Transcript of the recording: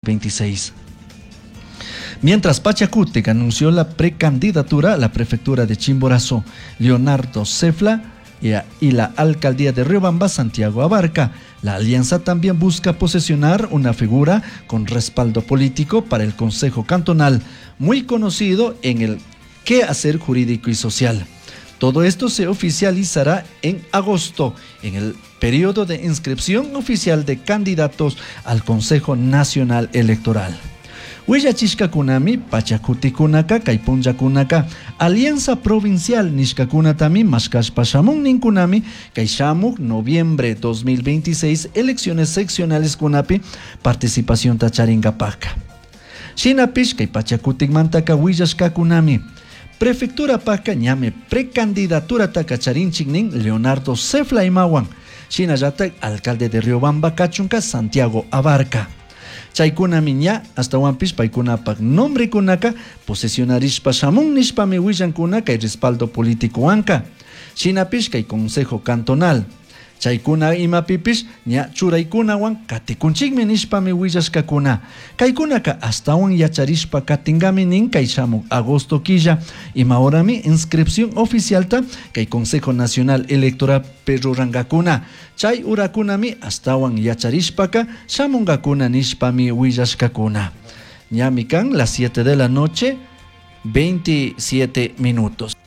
26. Mientras Pachacutic anunció la precandidatura a la prefectura de Chimborazo, Leonardo Cefla y la alcaldía de Riobamba, Santiago Abarca. La alianza también busca posesionar una figura con respaldo político para el Consejo Cantonal, muy conocido en el quehacer jurídico y social. Todo esto se oficializará en agosto, en el periodo de inscripción oficial de candidatos al Consejo Nacional Electoral. Willachishkakunami Pachakutikunaka kay punllakunaka Alianza Provincial nishkakunatami mashkashpa shamun ninkunami kay shamuk noviembre 2026 elecciones seccionales kunapi participacionta charingapaka. Shinapish kay Pachakutikmantaka willashkakunami Prefecturapaka ñami precandidaturataka charinchik nin Leonardo Cefla imawan, shinallatak alcalde de Riobamba kachunka Santiago Abarca. Chaykunami ña ashtahuanpish paykunapak nombrekunaka posesionarishpa shamun nishpami willankuna kay respaldo politicowanka. Shinapish kay Consejo Cantonal chaykuna imapipish ña churaykunawan katikunchikmi nishpami willashkakuna. Kaykunaka ashtawan yacharishpa katingami nin kay shamuk agosto killa ima horami inscripción oficialta kay Consejo Nacional Electoral rurankakuna. Chay urakunami ashtawan yacharishpaka shamunkakuna nishpami willashkakuna. Ñami kan las 7 de la noche, 27 minutos.